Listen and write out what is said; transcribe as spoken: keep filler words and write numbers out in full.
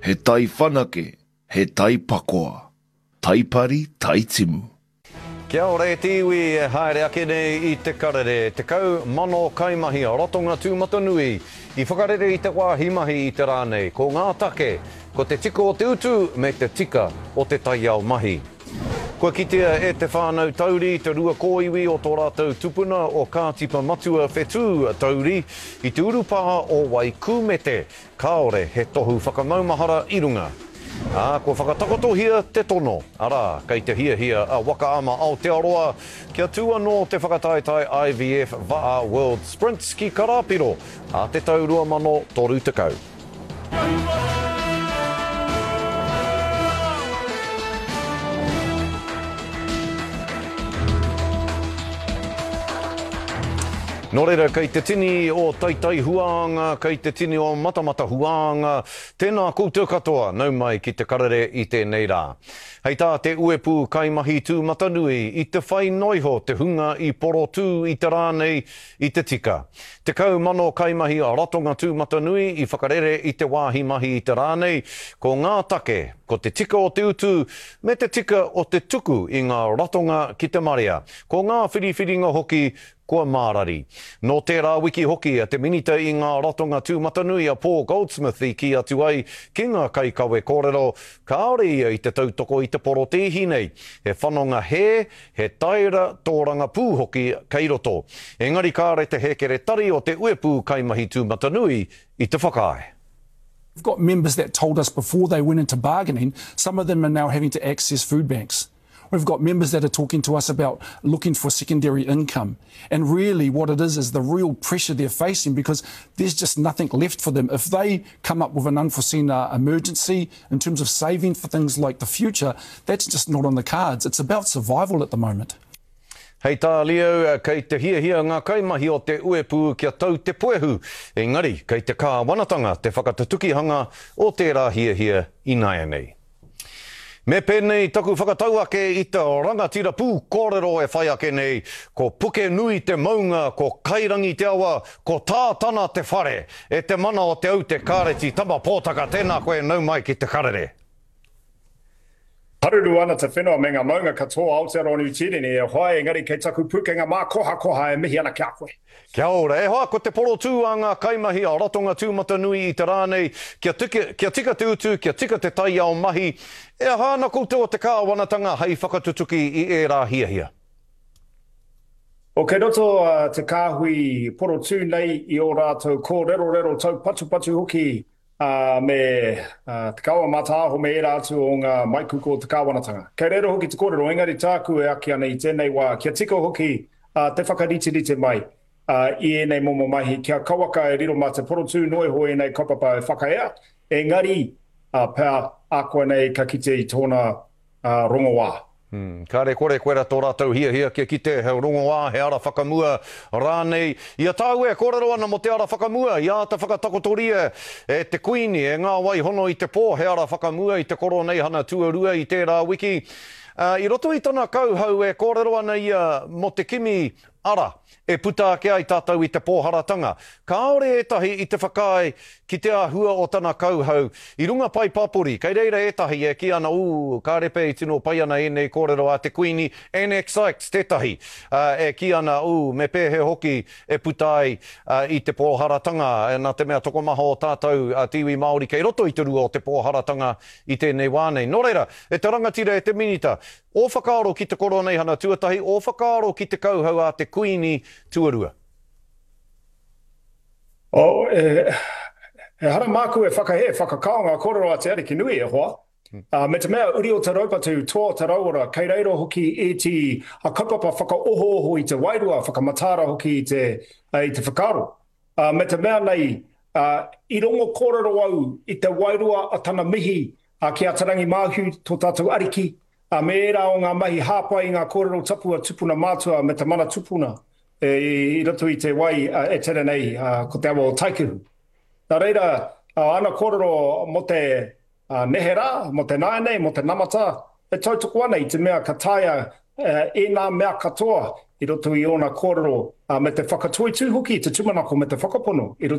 He tai whanake, he tai pakoa. Tai pari, tai timu. Kia ora e te iwi e haere ake nei i te karere. Tekau mano kaimahi a Ratonga Tūmatanui i whakarere i te wāhi mahi i te rā nei. Ko ngā take, ko te tika o te utu me te tika o te taiao mahi. Kua kitea e te whānau Tauri te rua kōiwi o tō rātou tupuna o Kātipa Matua Whetū Tauri i te urupā o Waikūmete. Kāore he tohu whakamaumahara i runga. Ā, kua whakatakotohia te tono, arā, kei te hiahia a Waka Ama Aotearoa kia tū anō te whakataetae I V F Va'a World Sprints ki Karapiro ā te tau rua mano toru tekau. Nō reira, kei te tini o Taitai Huānga, kei te tini o Matamata Huānga, tēnā koutou katoa, nau mai ki te karere i tēnei rā. Hei tā te uepu kaimahi tūmatanui i te whai noiho te hunga i porotū i te rā nei i te tika. Tekau mano kaimahi a Ratonga Tūmatanui i whakarere i te wāhi mahi i te rā nei, ko ngā take, ko te tika o te utu, me te tika o te tuku i ngā ratonga ki te marea. Ko ngā whiriwhiringa hoki kua mārari. Nō tērā wiki hoki a te minita i ngā ratonga tūmatanui a Paul Goldsmith i kī atu ai ki ngā kaikawe kōrero, kāore ia i te tautoko i te porotēhi nei. He whanonga hē, he taera tōrangapū hoki kei roto. Engari kāre te hēkeretari o te uepu kaimahi tūmatanui i te whakaae. We've got members that told us before they went into bargaining, some of them are now having to access food banks. We've got members that are talking to us about looking for secondary income. And really what it is is the real pressure they're facing because there's just nothing left for them. If they come up with an unforeseen, uh, emergency in terms of saving for things like the future, that's just not on the cards. It's about survival at the moment. Hei tā Leo, kei te hiahia ngā kaimahi o te uepu kia tau te puehu. Engari, kei te kāwanatanga te whakatutukihanga o tērā hiahia ināianei. Me pēnei taku whakatau ake i te rangatira pū kōrero e whai ake nei, ko Puke Nui te maunga, ko Kairangi te awa, ko Tātana te whare, e te mana o te aute Kāreti Tama Pōtaka, tēnā koe nau mai ki te karere. Haruru ana te whenua me ngā maunga katoa Aotearoa Niu Tīreni e hoa, engari kei taku pūkenga mā koha koha e mihi ana ki a koe. Kia ora, e hoa, ko te porotū a ngā kaimahi a Ratonga Tūmatanui i te rā nei, kia tika, kia tika te utu, kia tika te taiao mahi, e aha ana koutou o te kāwanatanga hei whakatutuki i ērā hiahia? O kei roto te kāhui porotū nei i ō rātou kōrerorero taupatupatu hoki Uh, me uh, te kawa mātāho me ērā atu o ngā maikuku o te kāwanatanga. Kei reira hoki te kōrero, engari tāku e aki ana i tēnei wā, kia tika hoki uh, te whakariterite mai uh, i ēnei momo mahi, kia kawaka e riro mā te porotū noiho ēnei kaupapa e whakaea, engari uh, pea ākoa nei ka kite i tōna uh, rongoā. Hmm, kāre kore koera tō rātou hiahia kia kite he rongoā, he ara whakamua rānei. I a tāu e kōrero ana mō te ara whakamua, i āta whakatakotoria e te kuini, e ngā waihono i te pō, he ara whakamua i te koroneihana tuarua i tērā wiki. Uh, i roto i tana kauhau e kōrero ana ia mō te kimi ara e puta ake ai tātou i te pōharatanga. Kāore ētahi i te whakaae ki te āhua o tana kauhau. I runga pai papori, kei reira ētahi e ki ana, ū, ka repe i tino pai ana ēnei kōrero a te kuini, N X Sykes tētahi, uh, e ki ana, ū, me pēhe hoki e puta ai uh, i te pōharatanga, e nā te mea tokomaha o tātou uh, te iwi Māori kei roto i te rua o te pōharatanga i tēnei wā nei. Nō reira, e te rangatira e te minita, o whakaaro ki te koroneihana tuatahi, o whakaaro ki te kauhau a te kuini tuarua. O, e, e hara māku e whakahe, whakakao ngā kōrero a te Ariki nui e hoa. Uh, me te mea uri o te raupatu, toa o te rauora, kei reira hoki e te a kaupapa whakaohooho i te wairua, whakamatara hoki i te, i te whakaaro. Uh, me te mea nei, uh, i rongo kōrero au i te wairua a tana mihi uh, ki a Te Rangi Māhu, tō tātou ariki, uh, me ērā o ngā mahi hāpai i ngā kōrero tapu a tupuna mātua me te mana tupuna e, i roto i te wai uh, e tere nei uh, ko te awa o Taikehu. Nā reira, uh, ana kōrero mō te uh, neherā, mō te nāianei, mō te namata, e tautoko ana i te mea ka taea uh, e nā mea katoa i roto i ōna kōrero uh, me te whakatoitū hoki, te tūmanako me te whakapono i roto